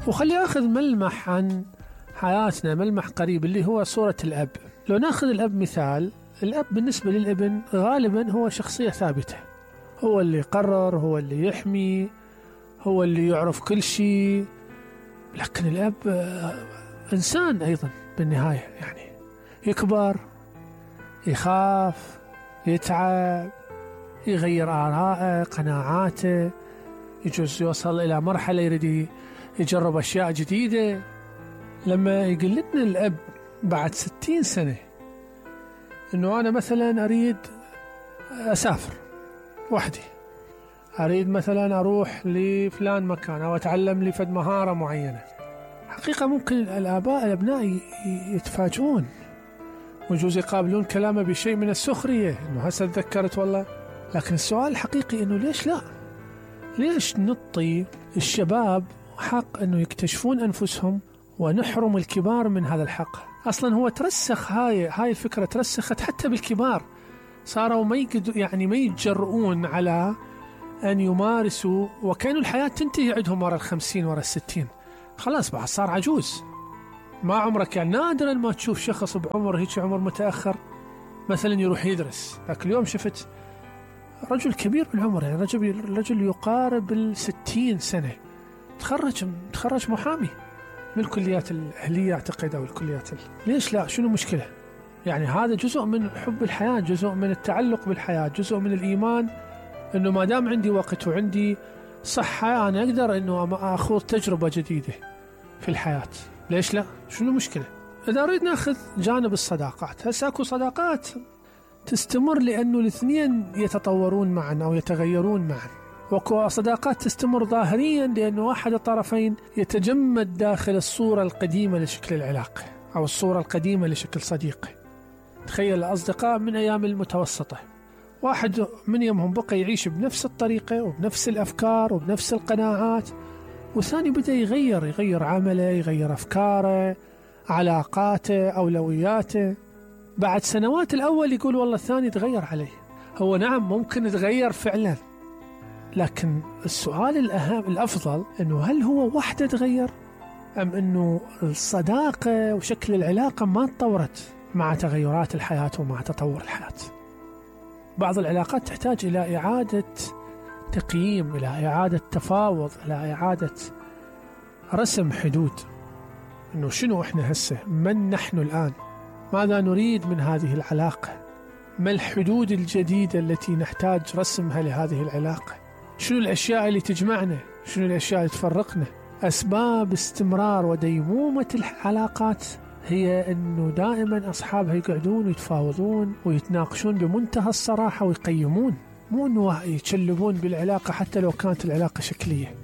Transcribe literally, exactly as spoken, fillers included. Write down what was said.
وخلي أخذ ملمح عن حياتنا، ملمح قريب اللي هو صورة الأب. لو ناخذ الأب مثال، الأب بالنسبة للابن غالبا هو شخصية ثابتة، هو اللي يقرر، هو اللي يحمي، هو اللي يعرف كل شيء. لكن الأب إنسان أيضا بالنهاية، يعني يكبر، يخاف، يتعب، يغير آراءه، قناعاته، يجوز يوصل إلى مرحلة يريد يجرب أشياء جديدة. لما يقول لنا الأب بعد ستين سنة إنه أنا مثلا أريد أسافر وحدي، أريد مثلا أروح لفلان مكان أو أتعلم لي فد مهارة معينة، حقيقة ممكن الآباء الأبناء يتفاجئون ويجوز يقابلون كلامه بشيء من السخرية، إنه هسه تذكرت والله. لكن السؤال الحقيقي إنه ليش لا؟ ليش نعطي الشباب حق إنه يكتشفون أنفسهم ونحرم الكبار من هذا الحق؟ أصلا هو ترسخ، هاي هاي الفكرة ترسخت حتى بالكبار، صاروا ما يقدروا يعني ما يتجرؤون على أن يمارسوا، وكانوا الحياة تنتهي عندهم ورا الخمسين ورا الستين، خلاص بعد صار عجوز. ما عمرك يعني نادرا ما تشوف شخص بعمر هيك عمر متأخر مثلا يروح يدرس. لكن اليوم شفت رجل كبير بالعمر، يعني رجل رجل يقارب الستين سنة، تخرج تخرج محامي من الكليات الأهلية أعتقد أو الكليات ال... ليش لا؟ شنو مشكلة؟ يعني هذا جزء من حب الحياة، جزء من التعلق بالحياة، جزء من الإيمان إنه ما دام عندي وقت وعندي صحة أنا أقدر إنه أخوض تجربة جديدة في الحياة. ليش لا؟ شنو مشكلة؟ إذا أريد نأخذ جانب الصداقات، هسه أكو صداقات تستمر لأنه الاثنين يتطورون معا أو يتغيرون معا، وكو صداقات تستمر ظاهريا لأنه أحد الطرفين يتجمد داخل الصورة القديمة لشكل العلاقة أو الصورة القديمة لشكل صديقه. تخيل الأصدقاء من أيام المتوسطة، واحد من يومهم بقى يعيش بنفس الطريقة وبنفس الأفكار وبنفس القناعات، والثاني بدأ يغير يغير عمله، يغير أفكاره، علاقاته، أولوياته. بعد سنوات الأول يقول والله الثاني تغير عليه. هو نعم ممكن يتغير فعلا، لكن السؤال الأهم الأفضل إنه هل هو وحده تغير أم إنه الصداقة وشكل العلاقة ما تطورت مع تغيرات الحياة ومع تطور الحياة؟ بعض العلاقات تحتاج إلى إعادة تقييم، إلى إعادة تفاوض، إلى إعادة رسم حدود، إنه شنو إحنا هسه، من نحن الآن، ماذا نريد من هذه العلاقة، ما الحدود الجديدة التي نحتاج رسمها لهذه العلاقة، شنو الأشياء اللي تجمعنا، شنو الأشياء اللي تفرقنا. أسباب استمرار وديمومة العلاقات هي أنه دائما أصحابها يقعدون ويتفاوضون ويتناقشون بمنتهى الصراحة ويقيمون، مو أنه يتشلبون بالعلاقة حتى لو كانت العلاقة شكلية.